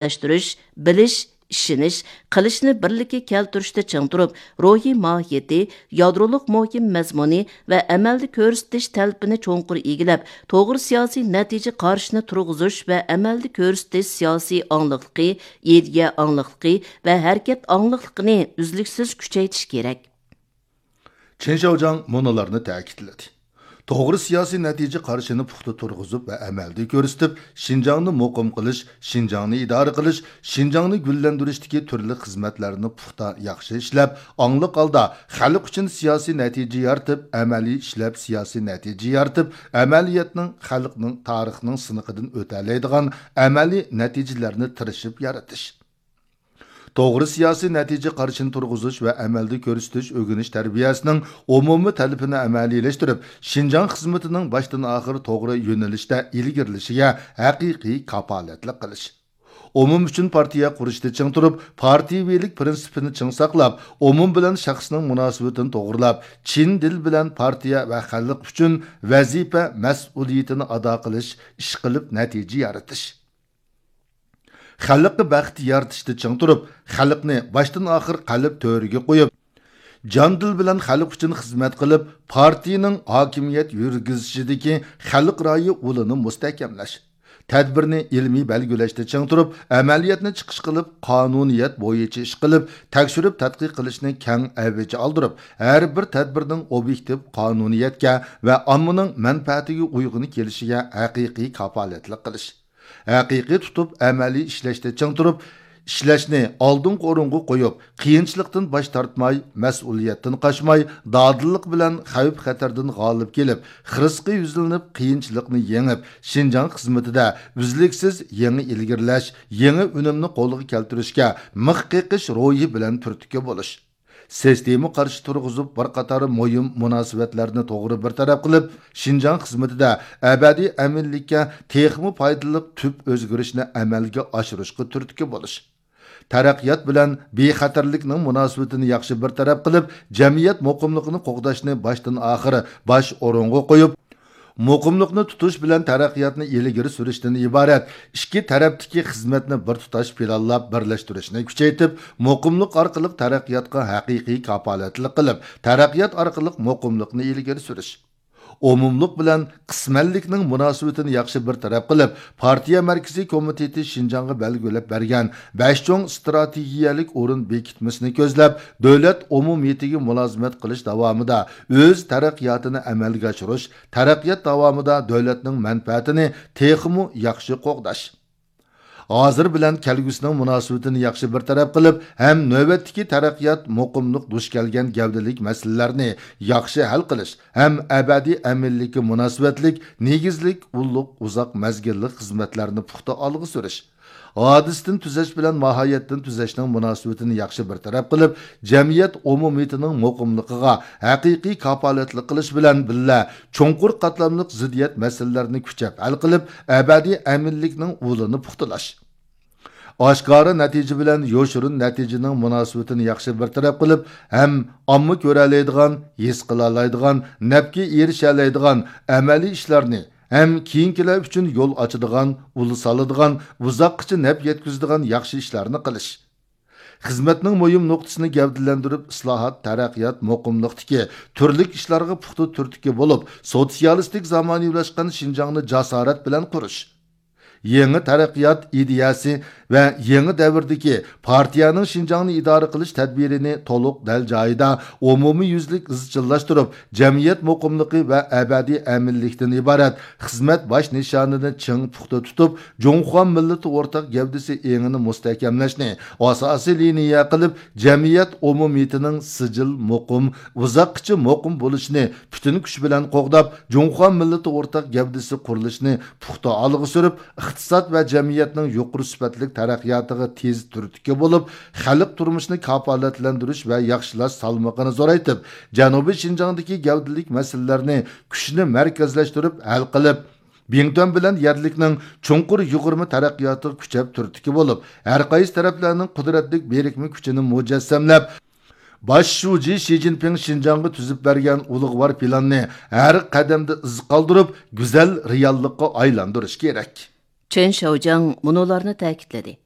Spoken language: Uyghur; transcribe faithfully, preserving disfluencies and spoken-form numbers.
ئىشلەشتۈرۈش، بىلىش، ئىشىنىش، قىلىشنى بىرلىككە كەلتۈرۈشتە چىڭ تۇرۇپ، روھىي ماھىيىتى، يادرولۇق مۇھىم مەزمۇنى ۋە ئەمەلدە كۆرسىتىش تەلىپىنى چوڭقۇر ئىگىلەپ، توغرا سىياسىي نەتىجە قارىشىنى تۇرغۇزۇش ۋە ئەمەلدە كۆرسىتىش سىياسىي ئاڭلىقلىقى، ئىدىيە ئاڭلىقلىقى ۋە ھەرىكەت ئاڭلىقلىقىنى ئۈزلۈكسىز كۈچەيتىش كېرەك. چېن شياۋجياڭ مۇنۇلارنى تەكىتلىدى. توغرا سىياسىي نەتىجە قارىشىنى پۇختا تۇرغۇزۇپ ۋە ئەمەلدە كۆرسىتىپ، شىنجاڭنى مۇقىم قىلىش، شىنجاڭنى ئىدارە قىلىش، شىنجاڭنى گۈللەندۈرۈشتىكى تۈرلۈك خىزمەتلەرنى پۇختا ياخشى ئىشلەپ، ئاڭلىق ھالدا خەلق ئۈچۈن سىياسىي نەتىجە يارىتىپ، ئەمەلىي ئىشلەپ سىياسىي نەتىجە يارىتىپ، ئەمەلىيەتنىڭ، خەلقنىڭ، تارىخنىڭ سىنىقىدىن ئۆتەلەيدىغان ئەمەلىي نەتىجىلەرنى تىرىشىپ يارىتىش. توغرا سىياسىي نەتىجە قارىشىنى تۇرغۇزۇش ۋە ئەمەلدە كۆرسىتىش ئۆگىنىش تەربىيەسىنىڭ ئومۇمىي تەلىپىنى ئەمەلىيلەشتۈرۈپ، شىنجاڭ خىزمىتىنىڭ باشتىن ئاخىر توغرا يۆنىلىشتە ئىلگىرىلىشىگە ھەقىقىي كاپالەتلىك قىلىش. ئومۇم ئۈچۈن پارتىيە قۇرۇشتا چىڭ تۇرۇپ، پارتىيىۋىلىك پىرىنسىپىنى چىڭ ساقلاپ، ئومۇم بىلەن شەخسنىڭ مۇناسىۋىتىنى توغرىلاپ، چىن دىل بىلەن پارتىيە ۋە خەلق ئۈچۈن ۋەزىپە، مەسئۇلىيىتىنى ئادا قىلىش، ئىشقىلىپ نەتىجە يارىتىش. خەلققە بەخت يارىتىشتا چىڭ تۇرۇپ، خەلقنى باشتىن ئاخىر قەلب تۆرىگە قويۇپ، جان دىل بىلەن خەلق ئۈچۈن خىزمەت قىلىپ، پارتىيىنىڭ ھاكىمىيەت يۈرگۈزۈشىدىكى خەلق رايى ئۇلىنى مۇستەھكەملەش. تەدبىرنى ئىلمىي بەلگىلەشتە چىڭ تۇرۇپ، ئەمەلىيەتنى چىقىش قىلىپ، قانۇنىيەت بويىچە ئىش قىلىپ، تەكشۈرۈپ تەتقىق قىلىشنى كەڭ ئەۋج ئالدۇرۇپ، ھەر بىر تەدبىرنىڭ ئوبيېكتىپ قانۇنىيەتكە ۋە ئاممىنىڭ مەنپەئەتىگە ئۇيغۇن كېلىشىگە ھەقىقىي كاپالەتلىك قىلىش. ھەقىقىي تۇتۇپ، ئەمەلىي ئىشلەشتە چىڭ تۇرۇپ، ئىشلەشنى ئالدىنقى ئورۇنغا قويۇپ، قىيىنچىلىقتىن باش تارتماي، مەسئۇلىيەتتىن قاچماي، دادىللىق بىلەن خەۋپ-خەتەردىن غالىب كېلىپ، خىرىسقا يۈزلىنىپ، قىيىنچىلىقنى يېڭىپ، شىنجاڭ خىزمىتىدە ئۈزلۈكسىز يېڭى ئىلگىرىلەش، يېڭى ئۈنۈمنى قولغا كەلتۈرۈشكە مىخ قېقىش روھى بىلەن تۈرتكە بولۇش. سىستېما قارشى تۇرغۇزۇپ، بىر قاتار مۇھىم مۇناسىۋەتلەرنى توغرا بىر تەرەپ قىلىپ، شىنجاڭ خىزمىتىدە ئەبەدىي ئەمىنلىككە تېخىمۇ پايدىلىق تۈپ ئۆزگىرىشنى ئەمەلگە ئاشۇرۇشقا تۈرتكە بولۇش. تەرەققىيات بىلەن بىخەتەرلىكنىڭ مۇناسىۋىتىنى ياخشى بىر تەرەپ قىلىپ، جەمئىيەت مۇقىملىقىنى قوغداشنى باشتىن ئاخىر باش ئورۇنغا قويۇپ، مۇقىملىقنى تۇتۇش بىلەن تەرەققىياتنى ئىلگىرى سۈرۈشتىن ئىبارەت ئىككى تەرەپتىكى خىزمەتنى بىر تۇتاش پىلانلاپ بىرلەشتۈرۈشنى كۈچەيتىپ، مۇقىملىق ئارقىلىق تەرەققىياتقا ھەقىقىي كاپالەتلىك قىلىپ، تەرەققىيات ئارقىلىق مۇقىملىقنى ئىلگىرى سۈرۈش. ئومۇملۇق بىلەن قىسمەنلىكنىڭ مۇناسىۋىتىنى ياخشى بىر تەرەپ قىلىپ، پارتىيە مەركىزىي كومىتېتى شىنجاڭغا بەلگىلەپ بەرگەن بەش چوڭ ئىستراتېگىيەلىك ئورۇن بېكىتمىسىنى كۆزلەپ، دۆلەت ئومۇمىيىتىگە مۇلازىمەت قىلىش داۋامىدا ئۆز تەرەققىياتىنى ئەمەلگە ئاشۇرۇش، تەرەققىيات داۋامىدا دۆلەتنىڭ مەنپەئەتىنى تېخىمۇ ياخشى قوغداش. ھازىر بىلەن كەلگۈسىنىڭ مۇناسىۋىتىنى ياخشى بىر تەرەپ قىلىپ، ھەم نۆۋەتتىكى تەرەققىيات، مۇقىملىق دۇچ كەلگەن گەۋدىلىك مەسىلىلەرنى ياخشى ھەل قىلىش، ھەم ئەبەدىي ئەمىنلىككە مۇناسىۋەتلىك نېگىزلىك ئۇللۇق ئۇزاق مەزگىللىك خىزمەتلەرنى پۇختا ئالغا سۈرۈش. ھادىسىدىن تۈزەش بىلەن ماھىيەتتىن تۈزەشنىڭ مۇناسىۋىتىنى ياخشى بىر تەرەپ قىلىپ، جەمئىيەت ئومۇمىيىتىنىڭ مۇقىملىقىغا ھەقىقىي كاپالەتلىك قىلىش بىلەن بىللە، چوڭقۇر قاتلاملىق زىددىيەت مەسىلىلەرنى كۈچەپ ھەل قىلىپ، ئەبەدىي ئەمىنلىكنىڭ ئۇلىنى پۇختىلاش. ئاشكارا نەتىجە بىلەن يوشۇرۇن نەتىجىنىڭ مۇناسىۋىتىنى ياخشى بىر تەرەپ قىلىپ، ھەم ئامما كۆرەلەيدىغان، ھېس قىلالايدىغان، نەپكە ئېرىشەلەيدىغان ئەمەلىي ئىشلارنى، ھەم كېيىنكىلەر ئۈچۈن يول ئاچىدىغان، ئۇل سالىدىغان، ئۇزاققىچە نەپ يەتكۈزىدىغان ياخشى ئىشلارنى قىلىش. خىزمەتنىڭ مۇھىم نۇقتىسىنى گەۋدىلەندۈرۈپ، ئىسلاھات، تەرەققىيات، مۇقىملىقتىكى تۈرلۈك ئىشلارغا پۇختا تۈرتكە بولۇپ، سوتسىيالىستىك زامانىۋىلاشقان شىنجاڭنى جاسارەت بىلەن قۇرۇش. يېڭى تەرەققىيات ئىدىيەسى ۋە يېڭى دەۋردىكى پارتىيەنىڭ شىنجاڭنى ئىدارە قىلىش تەدبىرىنى تولۇق دەل جايىدا ئومۇميۈزلۈك ئىزچىللاشتۇرۇپ، جەمئىيەت مۇقىملىقى ۋە ئەبەدىي ئەمىنلىكتىن ئىبارەت خىزمەت باش نىشانىنى چىڭ پۇختا تۇتۇپ، جۇڭخۇا مىللىتى ئورتاق گەۋدىسى ئېڭىنى مۇستەھكەملەشنى ئاساسىي لىنىيە قىلىپ، جەمئىيەت ئومۇمىيىتىنىڭ سىجىل، مۇقىم، ئۇزاققىچە مۇقىم بولۇشىنى پۈتۈن كۈچ بىلەن قوغداپ، جۇڭخۇا مىللىتى ئورتاق گەۋدىسى قۇرۇلۇشىنى پۇختا ئالغا سۈرۈپ، ئىقتىساد ۋە جەمئىيەتنىڭ يۇقىرى سۈپەتلىك تەرەققىياتىغا تېز تۈرتكە بولۇپ، خەلق تۇرمۇشىنى كاپالەتلەندۈرۈش ۋە ياخشىلاش سالمىقىنى زورايتىپ، جەنۇبىي شىنجاڭدىكى گەۋدىلىك مەسىلىلەرنى كۈچنى مەركەزلەشتۈرۈپ ھەل قىلىپ، بىڭتۈەن بىلەن يەرلىكنىڭ چوڭقۇر يۇغۇرما تەرەققىياتىغا كۈچەپ تۈرتكە بولۇپ، ھەر قايسى تەرەپلەرنىڭ قۇدرەتلىك بىرىكمە كۈچىنى مۇجەسسەملەپ، باش شۇجى شى جىنپىڭ شىنجاڭغا تۈزۈپ بەرگەن ئۇلۇغۋار پىلاننى ھەر قەدەمدە ئىز قالدۇرۇپ، گۈزەل رېئاللىققا ئايلاندۇرۇش كېرەك. چېن شياۋجياڭ مۇنۇلارنى تەكىتلىدى.